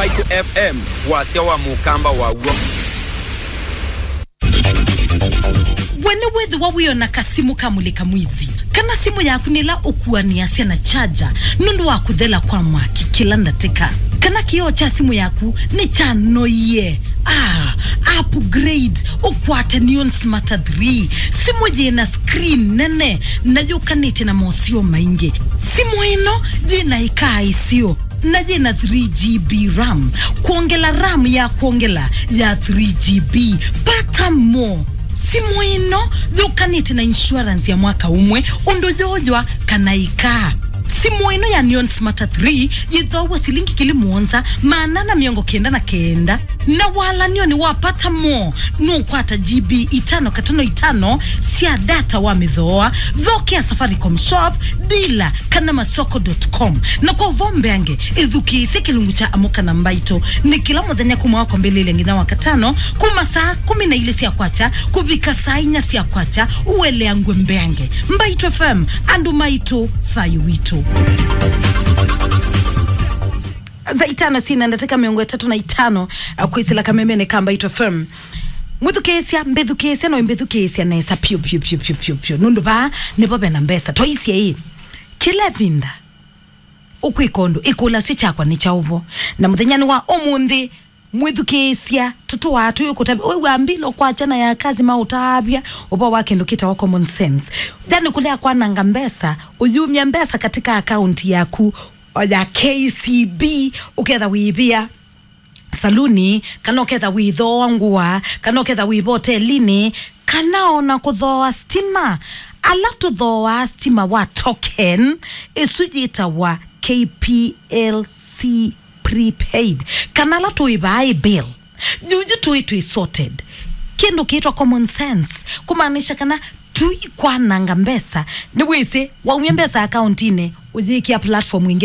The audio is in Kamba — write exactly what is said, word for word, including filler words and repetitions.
Mbaitũ F M, wasya wa mũkamba waw'o. We nĩwĩthĩwa wĩona kasimũ ka mũlĩka mwizi, kana simũ yaku nĩla ũkuanĩasya na charger nũndũ wa kũthela kwa mwaki kĩla ndatĩka, kana kĩoo kya simũ yaku nĩkyanoie? Ah, upgrade ũkwate Neon Smarter three, simũ yĩna screen nene na yũkanĩtye na moseo maingĩ. Simũ ĩno yĩna ĩkaa ĩseo na yĩna three G B RAM. Kwongela RAM ya kwongela ya three G B. Pata mo. Simũ ĩno yũkanĩte na insurance ya mwaka ũmwe, ũndũ yooywa kana ĩkaa. Simũ ĩno ya Neon Smarter three yĩthoaw'a silingi ngili mũonza maana na mĩongo kenda na kenda. Na walanionĩ wa Pata mo, nũkwata G B itano katano itano sya data wa mĩthooa. Thokea Safaricom Shop, dealer, kana masoko dot com. Na kwa ũvoo mbeange, ĩthukĩĩsye kĩlungu kya Amũka na Mbaitũ nĩ kĩla mũthenya kuma wa kwambĩlĩlya nginya wa katano, kuma saa kũmi na ilĩ sya kwakya kũvika saa inya sya kwakya, ũeleangw'e mbeange. Mbaitũ F M, andũ maitũ, thayũ witũ. Thaa itano syĩna ndatĩka mĩongo ĩtatũ na itano, uh, kwĩsĩla kamemenĩ ka Mbaitũ F M. Mwĩthukĩĩsya, mbĩthukĩĩsya, no mbĩthukĩĩsya nesa piũ, piũ, piũ, piũ, piũ, piũ. Nũndũ vaa nĩvo vena mbesa. Twaisye ĩ, kĩla ĩvinda ũkwĩka ũndũ, ĩkũlasya kyakwa nĩ kyaũ vo? Na mũthenyanĩ wa ũmũnthĩ, mwĩthukĩĩsya, tũtũaa tũyũkũtavya. Wĩw'a mbilo kwakya na ya kazi maũtavya ũvoo wa kĩndũ kĩtawa common sense. Yani kũlea kwananga mbesa, ũyumya mbesa katika akaunti yaku o ya K C B, ũketha wĩvĩa saluni, kana ũketha wĩthooa ngũa, kana ũketha wĩva hotelinĩ, kana ona kũthooa stima. Ala tũthooaa stima wa token, ĩsu yĩtawa K P L C prepaid, kana ala tũĩvaa ĩ bill. Yuyu tũĩ twĩ sorted. Kĩndũ kĩtwa common sense, kũmaanisha kana tũikwananga mbesa. Nĩwĩsĩ, waumya mbesa akauntinĩ, ũyĩkĩa platform ĩngĩ.